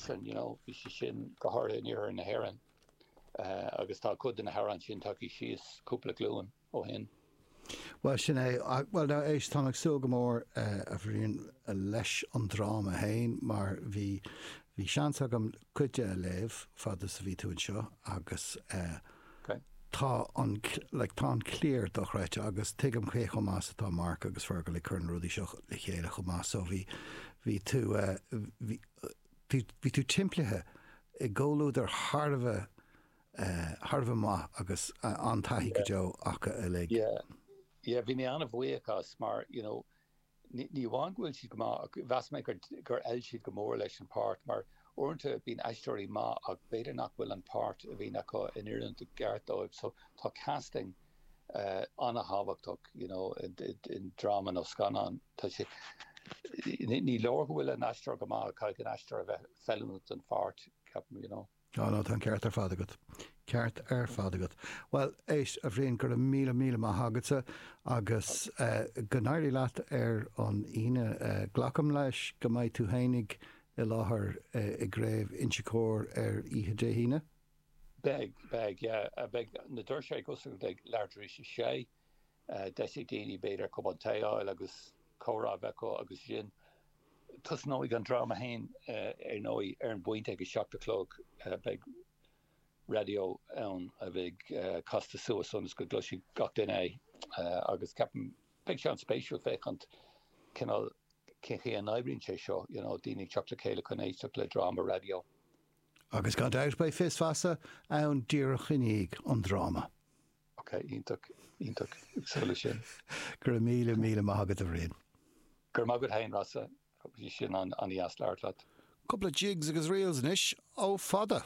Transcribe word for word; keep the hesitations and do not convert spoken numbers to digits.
sin, you know, bhí sé sin go háirithe in iarthar na hÉireann agus tá cuid de na hamhráin sin tagtha síos cúpla glúin ó shin. Bhuel sin é, bhuel now éist, táim ag súil go mór a Bhriain leis an dráma féin mar bhí, bhí seans agam cuid de a léamh fad is a bhí tú anseo agus tá an, like tá an cliar dochreidte agus tuigim cé chomh maith is atá Mark agus Fergal ag cur na rudaí seo le chéile chomh maith so bhí, bhí tú, bhí, bhí tú timpeallaithe i gcomhluadar thar a bheith, thar a bheith maith agus an-taithí go deo acu uilig. Yeah, yeah, bhí mé an-bhuíoch as mar, you know, ní amháin go bhfuil siad go maith ach mheas mé gur gur fheil siad go mór leis an páirt mar uaireanta bíonn aisteoirí maith ach b'fhéidir nach bhfuil an páirt a bhíonn acu in oiriúint i gceart dóibh so tá casting uh, an-thábhachtach you know, i, i, i dráma nó scannán tá sé ní, ní leor go bhfuil an aisteoir go maith caithfidh an aisteoir a bheith feiliúnach don pháirt ceapaim you know. Á no, tá an ceart ar fad agat. Ceart ar fad agat. Bhuel, éist, a Bhriain, go raibh míle míle maith agatsa agus go n-éirí leat ar an Aoine. Glacaim leis go mbeidh tú fhéinig i láthair i gCraobh Inse Chór ar oíche Dé hAoine? Beidh, beidh, yeah. Beidh na doirse ag oscailt ag leathuair tar éis a sé. Deis ag daoine b'fhéidir cupán tae a fháil agus comhrá a bheith acu agus sin. Tosnóidh an dráma féin ar ndóigh ar an bpointe ag a seacht a chlog. Beidh raidió ann a bheidh casta suas ionas go gcloisfidh gach duine é agus ceapaim beidh sé an-spéisiúil féachaint cineál cén chaoi a n-oibríonn sé seo, you know, daoine ag teacht le chéile chun éisteacht le dráma raidió. Agus gan dabht beidh Fios Feasa ann díreach i ndiaidh an dráma. Ok, iontach, iontach, ag súil leis sin. Go raibh míle míle maith agat a Bhriain. Go raibh maith agat féin, Rossa. Bhí sin an-dheas labhairt leat. Cúpla jigs agus reels anois ó Fada.